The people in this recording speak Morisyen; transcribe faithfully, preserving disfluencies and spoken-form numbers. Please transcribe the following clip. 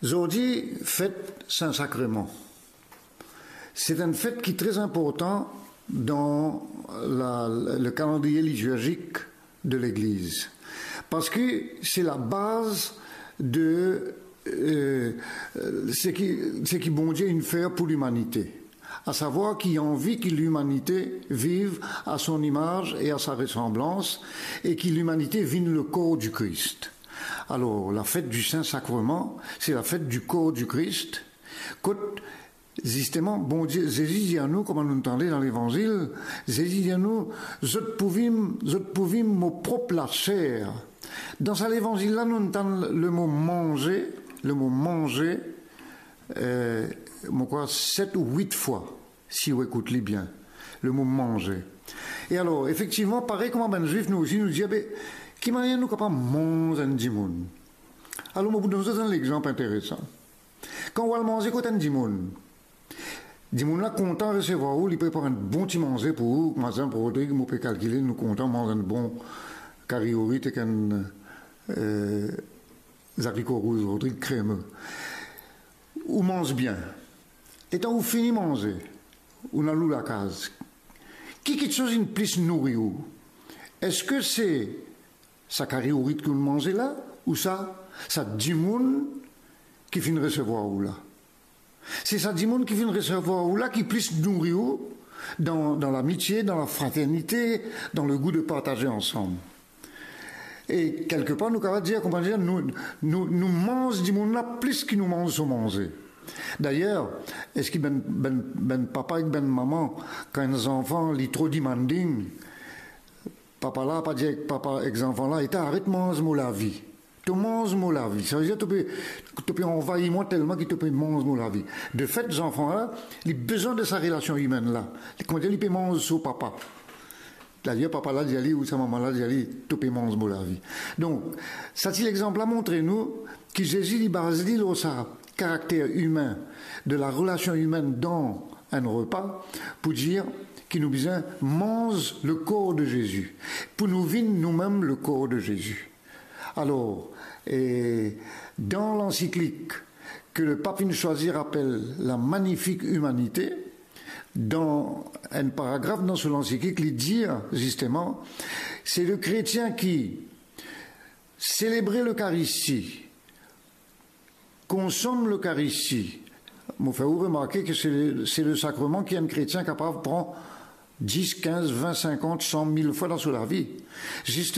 Zordi, fet Sin Sakreman. Se enn fet ki tre inportan dan la, le kalandriye litirzik de Legliz. Parski se labaz de, euh, seki, seki Bondie inn fer pou limanite. A savwar ki anvi ki limanite viv a son imaz e a sa resanblans, e ki limanite vinn le kor di Kris. Alor, la fet di Sin Sakreman, se la fet di kor di Kris, kot, zisteman, Bondie, Zezi dir nou, kouma nou tande dan Levanzil, Zezi dir nou, zot pou vinn, zot pou vinn mo prop laser. Dan sa Levanzil la, nou tann le mo manze, le mo manze, euh, mo krwar set ou wit fwa, si ou ekout li bien, le mo manze. E alor, efektivman, parey kouma bann Zwif, nou osi, nou dir, be, ki manier nou kapav manz enn dimoun? Alor, mo pou donn zot enn lexanp interesan. Kan ou al manze kot enn dimoun, dimoun la kontan resevwar ou, li prepar enn bon ti manze pou ou, kouma par exanp Rodrig, mo pe kalkile, nou kontan manz enn bon kari ourit ek enn, euh, zariko rouz, Rodrig, kreme. Ou manz bien. Letan ou fini manze, ou al ou lakaz. Ki kiksoz inn plis nouri ou? Eski se sa kari ourit ki ou manze la, ou sa, sa dimoun ki finn resevwar ou la? Se sa dimoun ki finn resevwar ou la ki plis nouri ou dan, dan lamitie, dan lafraternite, dan legou de partaze ansam. E kelkepar, nou kapav dir, kouma dir, nou, nou, nou manz dimoun la plis ki nou manz so manze. Dayer, eski bann, bann, bann papa ek bann mama, kan enn zanfan, li tro demanding, papa la pa dir ek papa, ek zanfan la, "Eta, aret manz mo lavi. To manz mo lavi." Savedir to pe, to pe anvayi mwa telman ki to pe manz mo lavi. Defet, zanfan la, li bizin de sa relasion imenn la. Li kontan, li pe manz so papa. Dayer, papa la dir li, ou sa mama la dir li, "To pe manz mo lavi." Donk, sa ti lexanp la montre nou ki Zezi, li baz li lor sa karakter imin, de la relasion imenn dan enn repa, pou dir ki nou bizin manz le kor de Zezi, pou nou vinn noumem le kor de Zezi. Alor, e, dan lansiklik ke le pap inn swazir apel La Magnifique Humanité, dan enn paragraf dan so lansiklik, li dir, zisteman, se le kretien ki selebre Lekaristi, konsom Lekaristi. Mo fer ou remarke ke se, se le sakreman ki enn kretien kapav pran dis, kinz, vin, sinkant, san, mil fwa dan so lavi. Zis